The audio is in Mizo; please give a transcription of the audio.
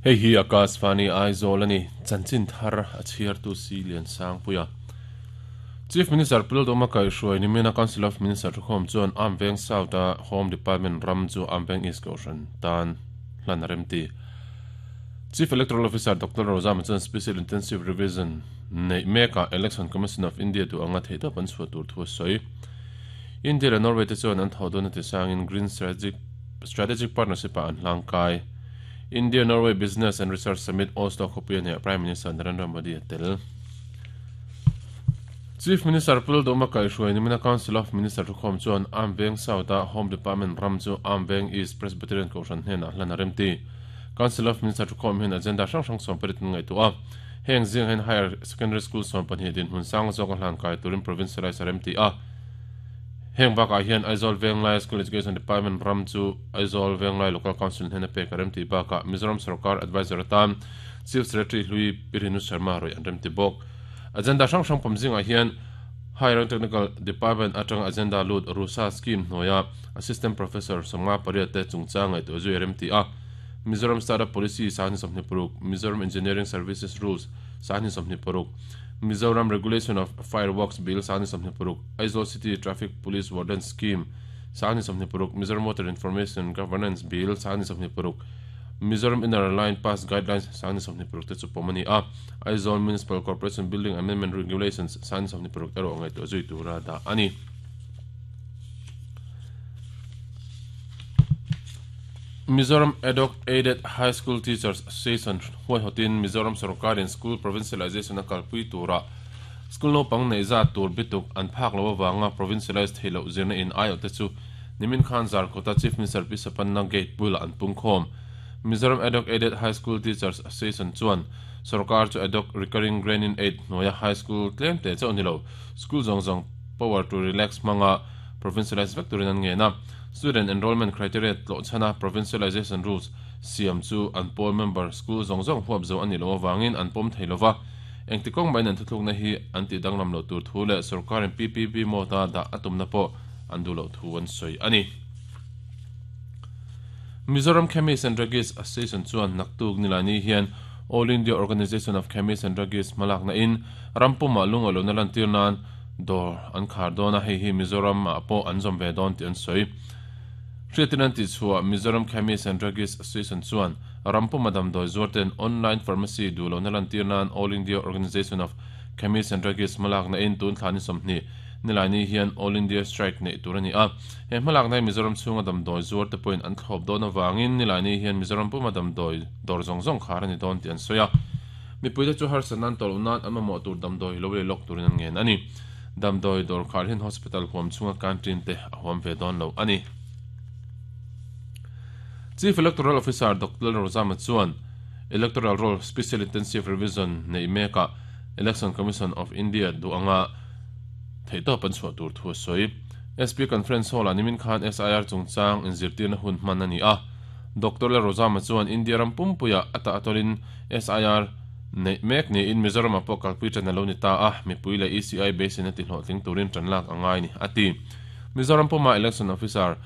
Hei hi Akashvani Aizawl a ni, chanchin thar a chhiartu Si Liansangpuia. Chief Minister Pu Lalduhma kaihhruai nimina Council of Minister thukhawm chuan Amveng South a Home Department ram chu Amveng East Kohhran tan hlan a remti. Chief Electoral Officer Doctor Rozama chuan Special Intensive Revision neih mekah Election Commission of India duh anga theihtawp an chhuah tur thu a sawi. India leh Norway te chuan an thawh dawn a ti sangin Green Strategic Partnership ah an hlangkai. India-Norway Business and Research Summit Oslo khawpui a hneh Prime Minister Narendra Modi a tel. Chief Minister Pu Lalduhma kaihhruai nimina Council of Minister thukhawm chuan Amveng South-a Home Department ram chu Amveng East Presbyterian Kohhran hnenah hlan a remti. Council of Minister thukhawm hian agenda hrang hrang sawmparit an ngaihtuah a. Heng zingah hian Higher Secondary School 12 dinhmun sang zawk a hlan kai turin Provincialise a remti a. Heng bakah hian Aizawl Venglai School Education Department ram chu Aizawl Venglai Local Council hnena pek a remti bakah Mizoram Sorkar Adviser atan Chief Secretary hlui Pi Renu Sharma rawih an remti bawk. Agenda hrang hrang pawm zingah hian Higher and Technical Department atanga agenda lut RUSA scheme hnuaia Assistant Professor 58 te chungchang ngaihtuah zui a remti a. Mizoram Startup Policy 2026, Mizoram Engineering Services Rules 2026, Mizoram Regulation of Fireworks Bill 2026, Aizawl City Traffic Police Warden Scheme 2026, Mizoram Water Information Governance Bill 2026, Mizoram Inner Line Pass Guidelines 2026 te chu pawm a ni a, Aizawl Municipal Corporation Building Amendment Regulations 2026 erawh ngaihtuah zui tura dah a ni. Mizoram Ad-hoc Aided High School Teachers Association huaihawtin Mizoram sorkarin School Provincialization a kalpui turah school naupang neih zat tur bituk an phak loh avanga provincialize theih loh zirna in aiawhte chu nimin khan Zarkawta Chief Minister Pi Sapanna Gate bulah an pungkhawm. Mizoram Ad-hoc Aided High School Teachers Association chuan sorkar chu Ad-hoc Recurring Grant-in Aid hnuaia high school tlem te chauh ni lo school zawng zawng power to relax hmanga provincialize vek turin an ngen a. Student enrollment criteria tlawh chhana provincialization rules siam chu an pawl member school zawng zawng huap zo a nih loh avangin an pawm thei lova, engti kawng mahin an thuthlukna hi an tih danglam loh tur thu leh sorkarin PPP mode-a dah a tumna pawh an duh loh thu an sawi a ni. Mizoram Chemists and Druggists Association chuan naktuk Nilaini hian All India Organisation of Chemists and Druggists hmalakna in ram pumah lungawi lohna lantir nan Dawr an khar dawn a, hei hi Mizoram ah pawh an zawm ve dawn tih an sawi. Hriatin an tih chhuah Mizoram Chemist and Druggist Association chuan ram puma damdawi zuar ten online pharmacy duh lohna lantir nan All India Organisation of Chemists and Druggists hmalakna in tun thla ni 20 Nilaini hian All India Strike neih tur a ni a. He hmalakna hi Mizoram chhunga damdawi zuar te pawhin an thlawp dawn avangin Nilaini hian Mizoram puma damdawi dawr zawng zawng khar a ni dawn tih an sawi a. Mipuite chu harsatna an tawlh nan an mamawh tur damdawi lo lei lawk turin an ngen a ni. Damdawi dawr khar hian hospital huam chhunga canteen te a huam ve dawn lo a ni. Chief Electoral Officer Doctor Lalrozama chuan Electoral Roll Special Intensive Revision neih mekah Election Commission of India duh anga theihtawp an chhuah tur thu a sawi. SP Conference Hall-ah nimin khan SIR chungchang inzirtirna hun hman a ni a. Doctor Lalrozama chuan India ram pumpuiah a tah atawlin SIR neih mek niin Mizoram-ah pawh kalpui ṭan a lo ni ta a, mipui leh ECI beiseina tihlawhtling turin ṭan lak a ngai ni, a ti. Mizoram puma Election Officer.